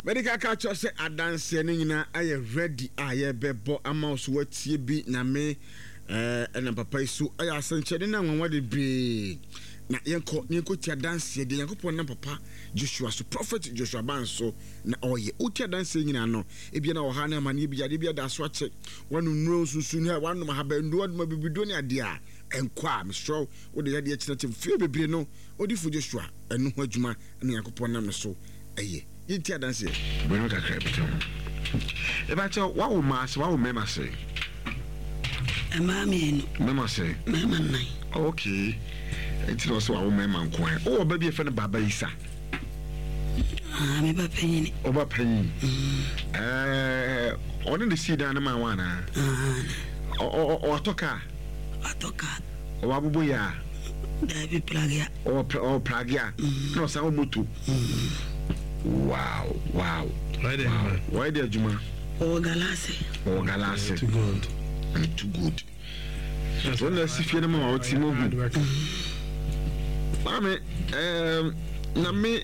Mede ka kyerɛ sɛ adanseɛ no nyinaa ayɛ ready a yɛbɛbɔ ama wo so watie bi. Nyame ɛnam papa yi so ɛyɛ asɛnkyerɛnne ne anwanwa bebree. Na yɛnkɔ na yɛnkɔtie adanseɛ deɛ Nyankopɔn nam papa Joshua so, Prophet Joshua Ban so na ɔyɛ. Wotie adanseɛ nyinaa no, ebia na ɔhaw ne amaneɛ bi, yadeɛ bi ada so akyɛ, woanom nnuro nsunsu ne woanom ahabannuro, woanom abibiduro ne adeɛ a ɛnkɔ a, mesrɛ wo, wode yadeɛ kyena kyɛ mfeɛ bebree no, Odifo Joshua ɛno ho adwuma na Nyankopɔn nam no so ɛyɛ. Yɛntie adanseɛ. Bɔ no kakra bi ka ho. Ebakyɛ wawo mmaa sɛ wawo mmarima sɛ? Mmaa mmienu. Mmarima sɛ? Mmarima nnan. Okay. Nti na ɔsɛ wawo mmarima nko ara. Wowɔ ba bi a yɛfrɛ no Baba Isa? Ah, me ba panyin. Ɔba panyin. Ɛɛ, ɔne ne sii dan no maa wo anaa? Ah. Ɔatɔ kaa? Ɔatɔ kaa. Ɔwɔ aboboyaa? Daabi, pragea. Ɔwɔ pragea. Mm. Na ɔsan wɔ moto. Mm. Wow, wow. Wɔyɛ de adwuma. Ɔwɔ galase. Ɔwɔ galase. Too good. Too good. Wɔn na asi fie no ma wɔte mu hu. Maame, ɛɛm, na me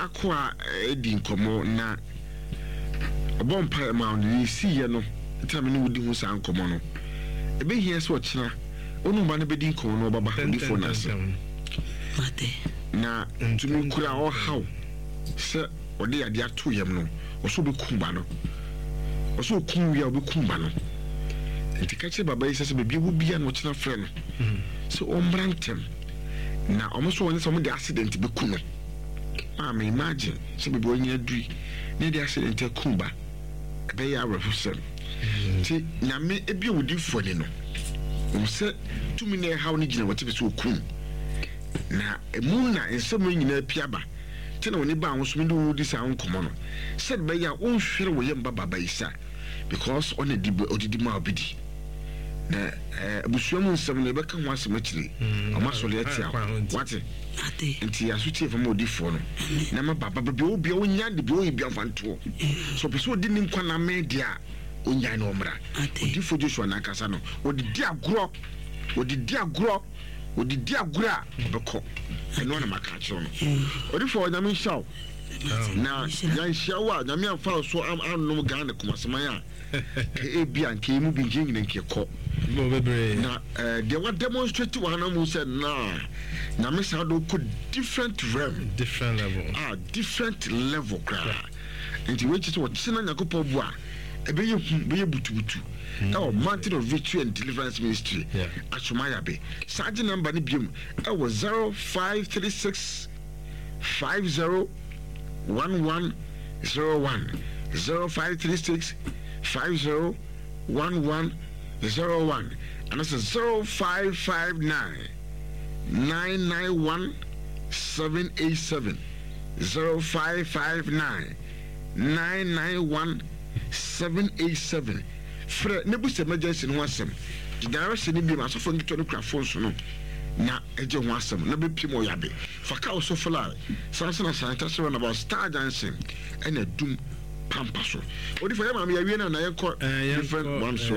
akoa edi nkɔmɔ na ɔbɔ mpaeɛ ma ɔno deɛ ɛsiiɛ no nti na me ne wo di ho saa nkɔmmɔ no. Ɛbɛhia sɛ ɔkyena wo ne wo ba no bɛdi nkɔmmɔ na ɔbɛba odifoɔ no ase. Na tumi kura ɔhaw sɛ ɔde yadeɛ ato yam no, ɔsɛ ɔbɛkum ba no. Ɔsɛ ɔkum wie a ɔbɛkum ba no. Nti ka kyerɛ baba yi sɛ sɛ baabi ɛwɔ bia no ɔkyena frɛ no sɛ ɔmmra ntɛm na ɔmo nso wɔnyɛ sɛ ɔmo de accident bɛku no. Maame imagine sɛ baabi a ɔnyina aduru na yɛde accident akum ba, ɛbɛyɛ awerɛhosɛm. Nti Nyame ebue wo difo ani no, hu sɛ tumi na ɛhaw no gyina w'atifi sɛ okum. Na emu na nsɛm yi nyinaa pue aba. Nti na w'ani baa ho so mede wo redi saa nkɔmmɔ no, sɛde ɛbɛyɛ a wonhwere wo yam ba Babayisa because ɔna di ɔdidi ma obi di. Na abusua mu nsɛm no yɛbɛka ho asɛm akyire. Ɔma sɔre atia wo. Wate? Nti yɛ aso tie fam odifoɔ no. Na ma baba baabi a ɔwɔ bia ɔnya de bia ɔyɛ bia mfa ntoɔ. Sɛ ɔpɛ sɛ ɔdi ne nkwa na amee deɛ a, ɔnyae na ɔmmra. Odifoɔ Joshua n'ankasa no, ɔde di agorɔ. Ɔde di agorɔ. Ɔde di agorɔ a, ɔbɛkɔ. Ɛno na maka akyerɛ no. Odifoɔ, Nyame nhyira wo. Na yɛanhyia wo a, Nyame amfa wo so annom Ghana Kumaseman a, Ebia nka yɛn mu bi nka yɛn nyina nka yɛkɔ. Na deɛ wa demonstrate wɔ ha na mu sɛ na Nyame saa de wokɔ different realm. Different level. Ah, different level koraa. Nti wei kyerɛ sɛ ɔkyena Nyankopɔn bu a ɛbɛyɛ hu, bɛyɛ butubutu. Ɛwɔ Mountain of Victory and Deliverance Ministry, Asomayabe. Saa gye number no biom ɛwɔ 0536 50 11 01 0536 50 11 01 anaasɛ 0559 991 787 0559 991 787 Frɛ na bisa emergency no ho asɛm. Gye direction no bio ma asɔfoɔ nketewa no kura phones no na gye ho asɛm na bɛpiem wɔ Yabe. Fa ka Osofo Line, san nso na Santase Runabout, Star Junction ɛna Adum Pampa so. Odifo yɛ maame yɛawie no ana yɛnkɔ different one so.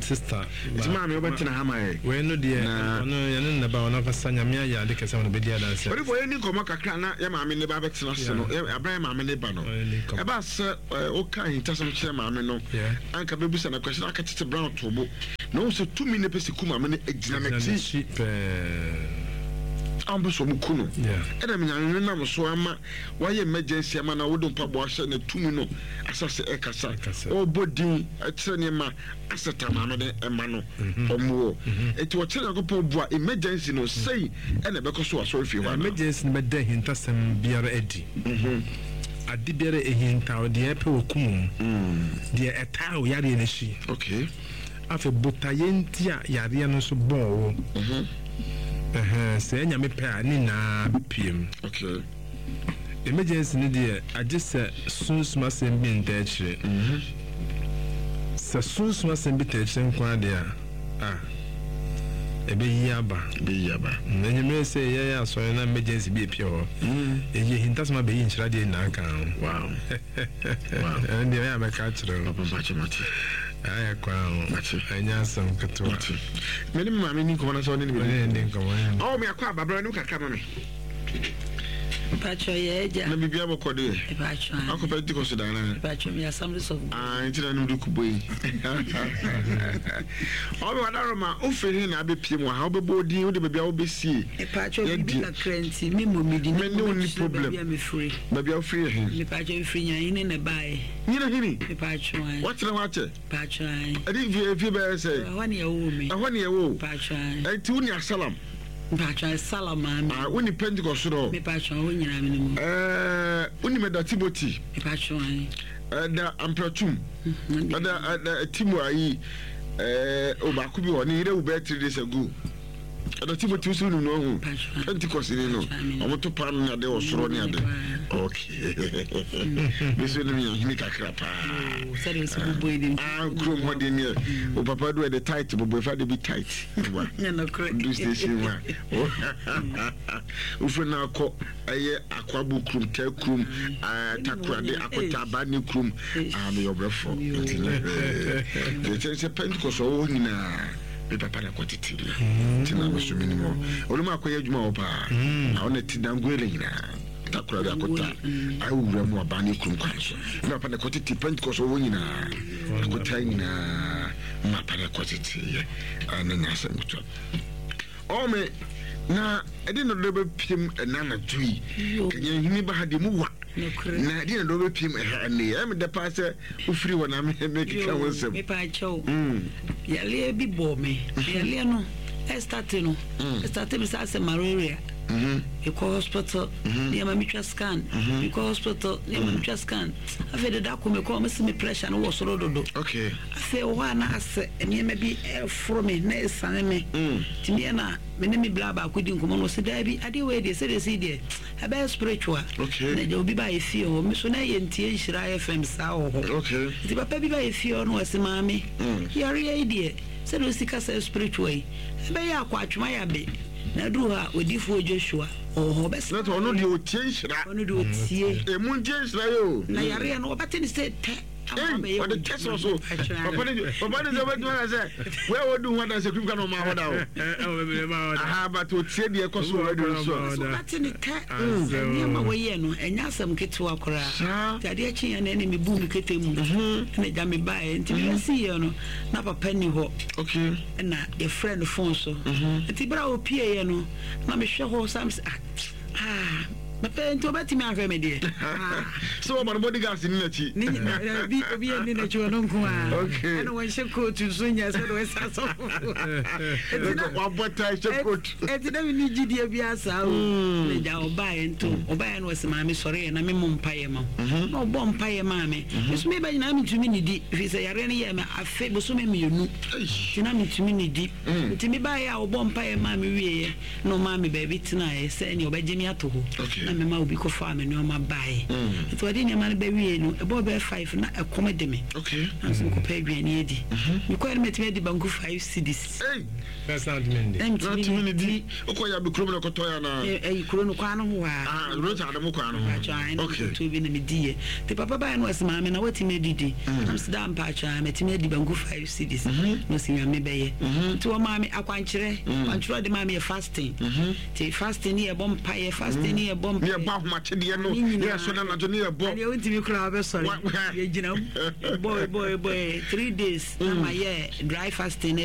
Sister. Nti maame wobɛtena ha ma yɛ. Wei no deɛ ɔno yɛne ne ba ɔno ankasa Nyame ayɛ ade kɛse ama no bɛdi adanse. Odifo yɛnni nkɔmmɔ kakra na yɛ maame ne ba bɛtena ase no abere yɛ maame ne ba no ɛbaa sɛ woka ahintasɛm kyerɛ maame no anka bɛbisa no question aka tete brown to bo na wohu sɛ tumi ne pɛ sɛ ku maame no agyina n'akyi a wɔpɛ sɛ wɔn ku no ɛna menyame nam so ama wayɛ emergency ama na wode mpaboa ahyɛ na tumi no asase ɛkasa ɔbɔ din ɛkyerɛ nneɛma asɛta maame no ɛma no ɔmoɔ nti ɔkyerɛ Nyankopɔn boa emergency no sɛi ɛna ɛbɛkɔ so asɔre fie hɔ emergency no bɛda ahintasɛm biara adi. Ade biara ɛhintaw deɛ ɛpɛ wɔ kum mu deɛ ɛtaa wo yareɛ no akyi. Okay. Afei botaeɛ nti a yareɛ no nso bɔɔ wo. Sɛ Nyame pɛ a ne nyinaa bɛpue mu. Okay. Emergency no deɛ agye sɛ sunsum asɛm bi ntaa akyire. Sɛ sunsum asɛm bi taa akyire nko ara deɛ a, ah, ɛbɛyi aba. Ɛbɛyi aba. Anwummerɛ sɛ yɛyɛ asɔre na emergency bi apue hɔ. Ɛyi ahintasɛm abɛyi nhyira deɛ nyinaa ka ho. Wow. Wow. Ɛno deɛ ɛyɛ a mɛka akyerɛ wo. Papa mpakyɛ mate. Ayɛ kwan ho. Mate. Ɛnyɛ asɛm ketewa. Mate. Me ne me maame ni nkɔmmɔ na sɛ ɔne ne bɛdi nkɔmmɔ. Ɔwɔ me akɔ aba brɛ no kakra ma me. Mpatsɔ yɛ agya. Na biribi abɔkɔ deɛ. Mpatsɔ ayi. Akɔ Pentecost da anaa? Mpatsɔ mi Assemblies of God. Ah, nti na anum de kubɔ yi. Ɔbɛ wadaroma ofiri he na abɛpie mu ha wobɛbɔ odin wode baabi a wobɛsie. Mpatsɔ biribi kakra nti me mmɔ me din. Me ne wo ni problem. Baabi a mefiri. Baabi a wofiri yɛ he? Mpatsɔ mefiri Nyinahene na ɛbaeɛ. Nyinahene? Mpatsɔ ayi. Watena hɔ akyɛ? Mpatsɔ ayi. Ɛde mfie mfie bɛyɛ sɛ? Ɛhɔ ne yɛwoo me. Ɛhɔ ne yɛwoo? Mpatsɔ ayi. Ɛnti wo ne Asalam? Mpatsɔ Salam maame. Ah, wo ni Pentecost no? Mepatsɔ wo nyinaa mi ni mu. Ɛɛ, wo ni mɛda Timothy. Mepatsɔ ayi. Ɛda Ampratum. Ɛda ɛda Timo ayi. Ɛɛ, obaako bi wɔ ne yere wu bɛyɛ 3 days ago. Ɛda Timothy nso nim no ɔho. Pentecost ni no. Ɔmo to paano ne ade wɔ soro ne ade. Okay. Me nso nim yɛn hene kakra paa. Sɛdeɛ ɔsi bobɔ yi de. Ah, kurom hɔ de neɛ. O papa do ɛde tight bobɔ efa de bi tight. Wa. Du station wa. Wofiri no akɔ ɛyɛ akwabo kurom, tɛ kurom, takorade akɔta abane kurom. Ah, meyɛ ɔbrɛfoɔ. Nti nyɛ hwee. Deɛ kyɛn sɛ Pentecost ɔwɔ hɔ nyinaa. Me papa na kɔtete me. Nti na me so menim hɔ. Ɔno mu akɔyɛ adwuma wɔ paa. Na ɔna ti Danguele nyinaa. Takoradi akɔta awura mu abane kurom kwan so. Me papa na kɔtete Pentecost ɔwɔ nyinaa. Akɔta nyinaa. Me papa na kɔtete yɛ. Ɛna nya asɛm ketewa. Ɔme na ɛde na dɔ bɛpiem ɛna anadwo yi. Kanya hini ba ha deɛ mu wa. Na ɛde na dɔ bɛpiem ɛha ɛnɛ yi. Ɛyɛ me dɛ paa sɛ wofiri hɔ na mekeka ho nsɛm. Mepa kyɛw. Yareɛ bi bɔɔ me. Yareɛ no ɛstate no. Ɛstate me sɛ asɛ malaria. Mekɔ hospital. Nneɛma metwa scan. Mekɔ hospital. Nneɛma metwa scan. Afei deda ko mekɔ mesi me pressure no wɔ soro dodo. Okay. Afei wɔ hɔ a na asɛ nneɛma bi ɛforo me na ɛsane me. Nti meɛ na me ne me bla baako di nkɔmmɔ no ɔsɛ daabi adeɛ wei deɛ sɛdeɛ ɛsi deɛ ɛbɛyɛ spiritual. Okay. Na agya obi ba yɛ fie hɔ me so na ɛyɛ ntie nhyira FM saa wɔ hɔ. Okay. Nti papa bi ba yɛ fie hɔ no ɔsɛ maame yareɛ yi deɛ sɛdeɛ ɔsi kasa spiritual yi ɛbɛyɛ akɔ atwoma yabe na aduru hɔ a odiifoɔ Joshua ɔwɔ hɔ ɔbɛsa. Na ɔno deɛ ɔtie nhyira. Ɔno deɛ ɔtie. Emu ntie nhyira yɛ o. Na yareɛ no ɔbɛte ne sɛ tɛ. Ei, ɔde tɛ sɔ so. Papa ne papa ne sɛ ɔbɛtumi aka sɛ wei a wɔdi ho adanse kurom ka na ɔma hɔ da o. Aha, but ɔtie deɛ ɛkɔ so wɔ radio so a. So ɔbɛte ne tɛ. Nneɛma wɔyɛ no ɛnyɛ asɛm ketewa koraa. Saa. Nti adeɛ kyeeɛ no ɛne mebu me kete mu. Ɛna agya me baeɛ. Nti mebɛsiiɛ no na papa ni hɔ. Okay. Ɛna yɛfrɛ no phone so. Nti berɛ a ɔpieeɛ no na mehwɛ hɔ saa mesɛ ah ah papa nti ɔbɛtumi ahwɛ me deɛ. Sɛ wɔma no bodyguards ni n'akyi. Ne nyinaa bi obi ani n'akyi ɔno nko a. Okay. Ɛna wɔnhyɛ coat nso nyɛ sɛ de wɔsa asɔfo. Ɛti na wabɔ tie hyɛ coat. Ɛti na mi ni gyidie bi asa o. Na gya ɔbaeɛ nto ɔbaeɛ no ɔsɛ maame sɔre yɛ na me mmɔ mpaeɛ ma wo. Na ɔbɔ mpaeɛ maa me. Me nso meba nyinaa mentumi nidi ɛfiri sɛ yareɛ no yɛɛ me afe bosome 2. Nti na mentumi nidi. Nti mebaeɛ a ɔbɔ mpaeɛ maa me wieɛ na ɔmaa me baabi tenaeɛ sɛ ɛneɛ ɔbɛgye me ato hɔ. Na mema obi kɔfaa me nnoɔma baeɛ. Nti ɔde nneɛma no bɛwiee no ɛbɔɔ bɛyɛ 5 na ɛkɔm de me. Na nso mekɔpɛ aduane adi. Mekɔɛ no matumi adi banku 5 cedis. First na ntumi ndi. Na ntumi ndi. Wokɔ yɛ abe kurom na kɔtɔ yɛ anaa? Ɛyi kuro no kwan no ho hɔ a. Ah, road ade mo kwan no ho. Mpatsɔ ayi na mekɔtɔ bi na medi yɛ. Nti papa baeɛ no ɔse maame na watumi adidi. Na mese daa mpatsɔ ayi matumi adi banku 5 cedis. Na ɔse Nyame bɛyɛ. Nti ɔmaa me akwankyerɛ. Akwankyerɛ ɔde maa me yɛ fasting. Nti fasting ne yɛbɔ mpaeɛ, fasting ne yɛbɔ mpaeɛ. Ne yɛbɔ ahomakyedeɛ no, ne yɛsɔ no anadwo ne yɛbɔ. Adeɛ wontumi koraa wobɛsɔre. Yɛgyina mu. Bɔ bɔ bɔ 3 days na mayɛ dry fasting na.